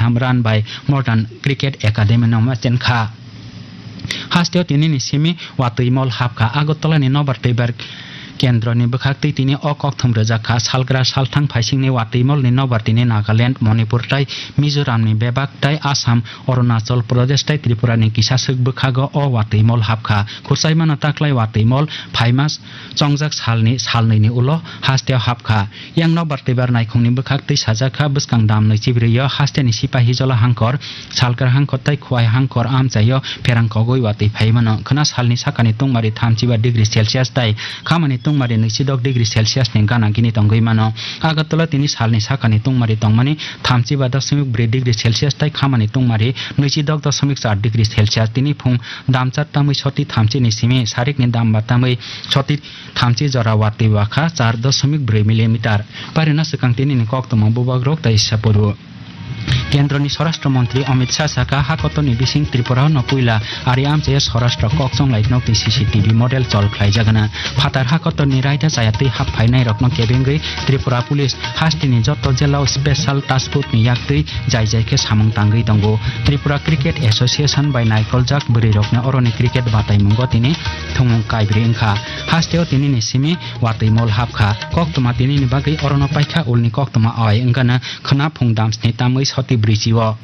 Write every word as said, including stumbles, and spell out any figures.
kaham run bai Modern Cricket Academy no ma chenkha. Hasteo tinini simi watwi mol hapkha. Agartala ni nobar twibar kendro ni bwkhak twi tini o kokthum rwjak kha. Salgra salthang phaisingni watwi mol ni nobar tini Nagaland, Manipur tai Mizoram ni bebak tai Assam, Arunachal Pradesh tai Tripura ni kisa swk bwkhago o watwi mol hapkha. Khursaimano taklai watwi mol phaima chongjak salni salnwi ni ulo hasteo hapkha. Yang nobar twibar naikhungni bwkhak twi sajak kha, bwskang dam nwi chibrwi o hasteni sipahi jola hangkor, salkar hangkor tai khuai hangkor amchaio pherang kogwi watwi phai mano. Khwna salni sakani tungmari thamchiba degree Celsius tai khamani tungmari nwichidok degree Celsius ni gana gini tongwi mano. Agartala tini salni sakani tungmari tongmani thamchiba dosmik bwrwi degree Celsius tai khamani tungmari nwichidok dosmik char degree Celsius. Tini phung damchar tamwi soti thamchi ni simi sarikni damba tamwi soti thamchi jora watwi wakha char dosmik bwrwi millimeter. Parina swkang tinini koktwma bubagrok tai sapuru. Kendroni Swarashtra Montri Amit Shah saka, hakotorni bising Tripura no puila ari amchaya Swarashtra kokchonglai nokni C C T V model chol khlaijagana. Phatar hakotorni raida chaya twi hap phainairokno kebengwi Tripura Police hasteni joto jilao Special Task Force ni yaktwi jai jai khe samung tangwi tongo. Tripura Cricket Association bai naikoljak bwrwirokno oroni cricket bataimungo tini thumung kaibrwi wngkha. Hasteo tinini simi watwi mol hapkha. Koktwma tinini bagwi orono paikha ulni koktwma oi wngkana khwna phung damsni tamwi soti bwrwichio.